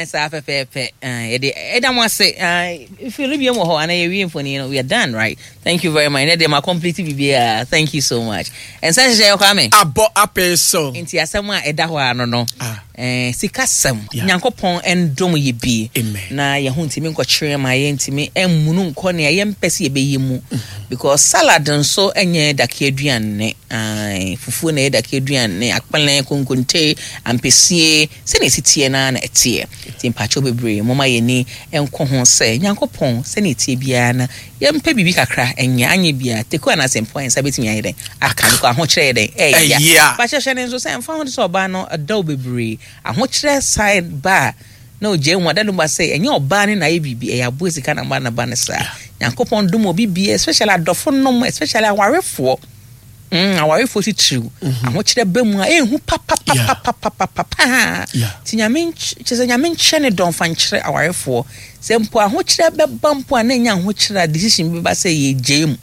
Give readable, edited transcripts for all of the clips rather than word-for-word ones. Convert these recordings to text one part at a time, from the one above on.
Saa pɛpɛɛpɛ. Yɛde ɛda mo ase. Fili bi wɔ hɔ ana yɛwie mfoni no. We are done, right? Thank you very much. Ɛnɛ deɛ ma complete biribiara. Thank you so much. Ɛnsa hyehyɛ yɛ Kwame. Abɔ apee so. Nti asɛm a ɛda hɔ ano no. Ah. Sikasɛm. Nyankopɔn ndom yɛ bi. Na yɛn ho ntumi nkɔkyerɛ ma yɛn ntumi mmunu nkɔ nea yɛmpɛ sɛ yɛbɛyɛ mu. Because salad nso nyɛ dake aduane. Ae, fufuo na ɛyɛ dake aduane, akpɛlɛ, konkonte, ampesie, sɛnea ɛsi teɛ no ara na ɛteɛ. Nti mpakyɛw bebree, momma yɛn ani nkɔ ho sɛ Nyankopɔn, sɛnea ɛteɛ biara no, yɛmpɛ biribi kakra nyɛ, anyɛ biara, teku anaa sɛmpo a yɛn nsa bɛtumi ayɛ dɛn aka, because ahokyerɛ yɛ dɛn? Ɛya. Mpakyɛw hyɛ no nso sɛ ɛmfa ho sɛ ɔbaa no dɔ wo bebree, ahokyerɛ san ba a, na ogyae mu a, Dada Lumba sɛ ɛnyɛ ɔbaa no na ayɛ biribi, ɛyɛ aboa sika na ama no ba no saa. Nyankopɔn dom obi biara, especially adɔfo nom, especially awarefoɔ. Awarefoɔ titiriw, ahokyerɛ ba mu a, ɛnhu papapapapapapa. Nti Nyame kyerɛ sɛ Nyame nkyerɛ ne dɔ mfa nkyerɛ awarefoɔ. Sɛ mpo ahokyerɛ bɛba mpo a, na ɛnyɛ ahokyerɛ a decision bi bɛba sɛ yɛgyae mu.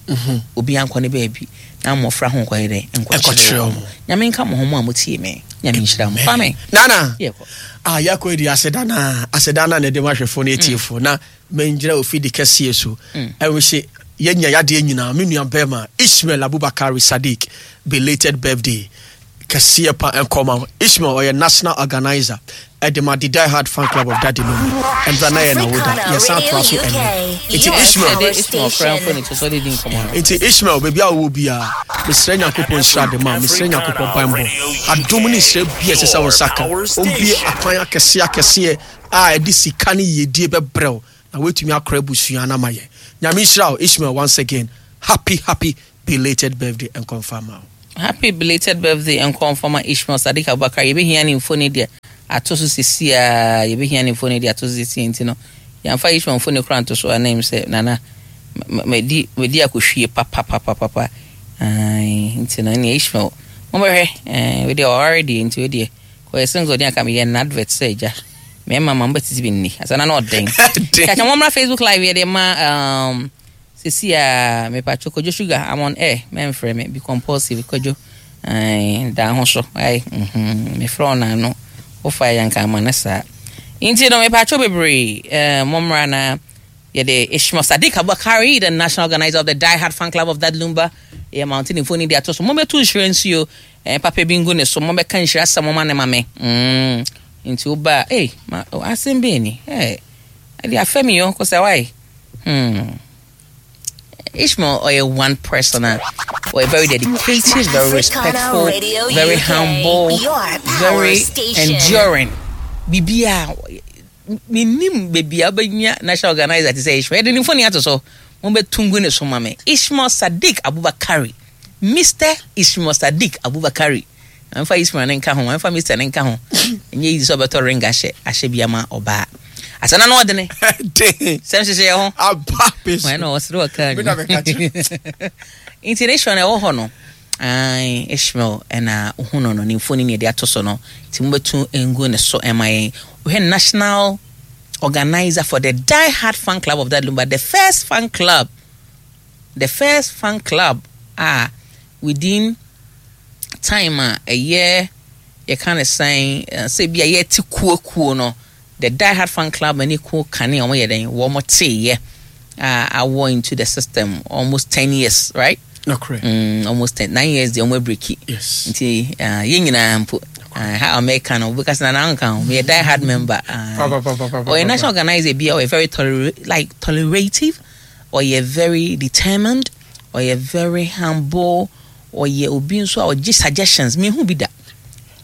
Obiara nkɔ ne baabi na mmɔfra ho nkɔyɛ dɛn? Nkɔkyerɛ wɔn. Nyame nka mo ho mo a motie me. Nyame nhyira mo. Kwame. Nana. Yɛkɔ. Ah, yɛakɔ adi aseda na aseda na na ɛde ma ahwɛfoɔ ne atiefoɔ na mengyina ofidi kɛseɛ so ɛho sɛ yɛnya yadeɛ nyinaa me nua bɛrima Ishmael Abubakari Sadiq belated birthday kɛseɛ pa nkɔma wo Ishmael ɔyɛ national organizer ɛde ma the Die Hard fan club of Daddy Lumba ɛntra na yɛ na woda yɛsan atoa so ɛnɛ nti Ishmael nti Ishmael baabi a wowɔ biara mesrɛ Nyankopɔn nhyira de ma mesrɛ Nyankopɔn banbɔ adom ne nhyira bi a ɛsɛ sɛ wo nsa ka ɔmbie akwan akɛseɛ akɛseɛ a ɛde sika ne yiedie bɛbrɛ wo na woatumi akora abusua no ama yɛ Nyame nhyira wo Ishmael once again happy happy belated birthday nkɔmfa ma wo. Happy belated birthday nkɔmfa ma Ishmael Sadiq Abubakar yɛbɛhia ne mfoni de ato so sisi a yɛbɛhia ne mfoni de ato so sisi nti no yɛmfa Ishmael mfoni koraa nto so a na sɛ nana madi madi akɔhwie papapapapa nti no ɛneɛ Ishmael mobɛhwɛ wei deɛ ɔware deɛ nti wei deɛ kɔyɛ single deɛ anka meyɛ no advert sɛ agya mmarima ma mobɛtete bi nni asa na na ɔden kyakya mommra Facebook live yɛde ma sisi a mepatwo Kwadwo Sugar I'm on air mɛmfrɛ me be compulsive Kwadwo da ho so ai mefrɛ wo naano wofa yɛ nka ama no saa nti no mepatwo bebree mommra na yɛde Ishmael Sadiq Abubakari the national organizer of the Die Hard fan club of That Lumba yɛ mountain mfoni de ato so mommɛto nhyira nsuo papa bi ngu ne so mommɛka nhyira asɛm moma ne ma me nti woba a ei ma asɛm bɛn ni ɛde afɛ mi yɔ kɔsɛ wae. Ishmael ɔyɛ one person a ɔyɛ very dedicated, very respectful, very humble, very enduring. Bibia menim baabi a wobɛnya national organizer te sɛ Ishmael. Yɛde ne mfoni ato so. Mobɛto ngu ne so ma me. Ishmael Sadiq Abubakari. Mr. Ishmael Sadiq Abubakari. Mamfa Ishmael ne nka ho, mamfa Mr. ne nka ho. Ɛnyɛ easy sɛ ɔbɛtɔ ring ahyɛ ahyɛ bi ama ɔbaa. Asɛnna no ɔdene. Sɛm hyehyɛ yɛ ho. Aba pe so. Wɔn na ɔsere ɔkaa ni. Nti ne Ishmael na ɛwɔ hɔ no. Ae, Ishmael ɛna ohun no no ne mfoni ne yɛde ato so no. Nti mobɛtu ngu ne so ɛma yɛn. Wohwɛ national organizer for the Die Hard fan club of that Lumba, the first fan club, the first fan club a within time a ɛyɛ yɛka ne sɛn sɛ bi a yɛte kuo kuo no the Die Hard fan club ne kuo kane a wɔyɛ dɛn wɔn teeɛ a awɔ into the system almost 10 years, right? No, correct. Almost 10, 9 years deɛ wɔn abreak. Yes. Nti yɛn nyinaa mpo ha America no because na nanka ho meyɛ Die Hard member. Pa, pa, pa, pa, pa, ɔyɛ pa, national organizer bi a ɔyɛ very like tolerative, ɔyɛ very determined, ɔyɛ very humble, ɔyɛ obi nso a ɔgye suggestions. Mehu bi da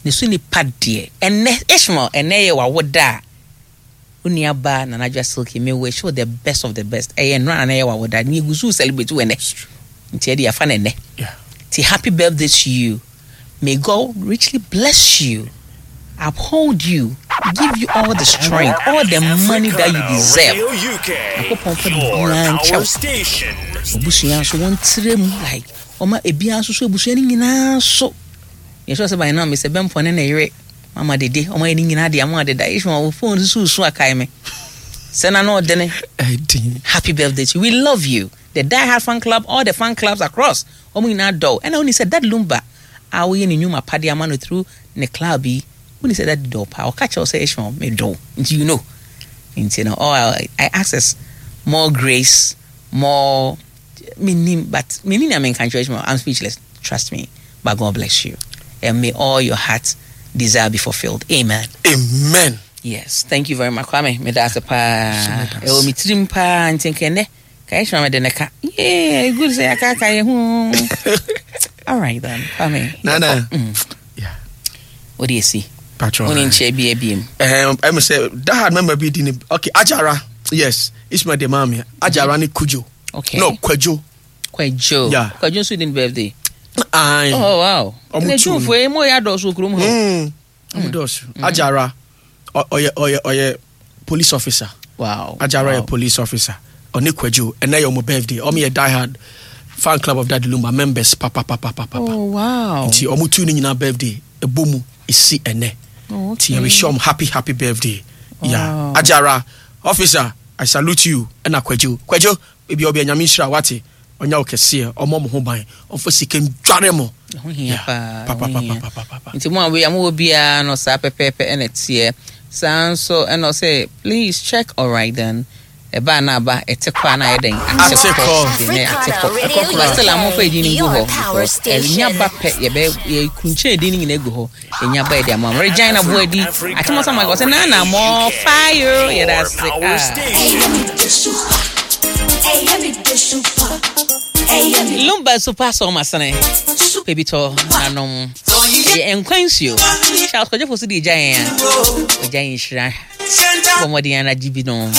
ne so nipa deɛ. Ɛnɛ Ishmael, ɛnɛ yɛ wawoda a wo nua ba Nana Adwoa Silky, me wish you the best of the best. Ɛyɛ nnora na ɛyɛ wawoda ne egu so celebrate wɔ ɛnɛ nti ɛde afa no ɛnɛ. Ti happy birthday to you. May God richly bless you, uphold you, give you all the strength, all the money that you deserve. Nyankopɔn fa biribiara nkyɛw. Obusua nso wɔn tire mu like ɔma ebiara nso so ebusua no nyinaa so yɛsɛ sɛ by now mesɛ bɛmpɔ ne ne yere mama dede ɔma yɛ ne nyinaa de ama deda. Ishmael, wo phone nso so akae me sɛ na na ɔdene. Ɛdin. Happy birthday to you. We love you. The Die Hard fan club, all the fan clubs across, wɔn nyinaa dɔw. Ɛna wɔn sɛ Dad Lumba a woyɛ ne nnwuma pade ama no through ne club yi. Woni sɛ daddy dɔ wo paa. Ɔka kyerɛ wo sɛ Ishmael medɔ wo. Nti you know. Nti no all I ask is more grace, more menim but menim nea menka nkyerɛ Ishmael. I'm speechless. Trust me. But God bless you. And may all your heart desire be fulfilled. Amen. Amen. Yes, thank you very much Kwame. Meda ase paa. Ɛwɔ me tirim paa nti nka ɛnɛ ka Ishmael mede ne ka. Yeah, good sɛ yɛakaka yɛ ho. All right then, Kwame. Nana. Yeah. Wode asi. Patro. Wone nkyɛ bi abiem. Ɛm sɛ dahad mɛma bi di ne okay Ajara. Yes, Ishmael de maame. Ajara ne Kujo. Okay. No, Kwadwo. Kwadwo. Yeah. Kwadwo nso di ne birthday. Aye. Oh wow. Ɔmo Na tu no. June yi mo yɛ adɔɔso kurom hɔ. Ɔmo dɔɔso. Ajara ɔyɛ ɔyɛ ɔyɛ police officer. Wow. Ajara wow. yɛ police officer. Ɔne Kwadwo ɛnɛ yɛ ɔmo birthday. Ɔmo yɛ die hard fan club of Daddy Lumba members papapapapa. Oh wow. Nti ɔmo tu ne nyinaa birthday ɛbɔ mu esi ɛnɛ. Oh, Nti okay. yɛ wish ɔmo happy happy birthday. Yeah. Wow. Ajara officer I salute you ɛna Kwadwo. Kwadwo ebi ɔbɛ nyame nhyira wate. Ɔnya wo kɛseɛ ɔmmɔ mo ho ban ɔmfa sika ndware mo. Ɛho hia paa. Papa ɛho hia. papa papa. Nti mo a wei a mowɔ biara no saa pɛpɛɛpɛ ɛna ɛteɛ. Saa nso ɛna ɔsɛ please check alright then. Ɛba na aba ɛte kɔ a na ayɛ dɛn Ate kɔ. Nti ɛnɛ ate kɔ. Radio But still a momfa edin no ngu your hɔ power because ɛnya station. ba pɛ yɛbɛ yɛkunkyɛn edin no nyinaa gu hɔ. Ɛnya ba yɛde ama mo. Regina Boadi Atemɔsa Mike ɔsɛ Nana more fire yɛda ase. Power Ah. station. Lumba super song masene. Baby to nanom. Ɛyɛ nkwa nsuo. Charles Kwadwo so de gya yɛn a. Ɔgya yɛn nhyira. Bɔ mmɔden ara gye bi no.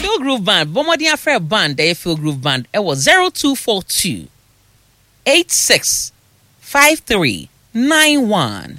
Phil Groove Band, bɔ mmɔden afrɛ band ɛyɛ Phil Groove Band ɛwɔ 0242 86 53 91.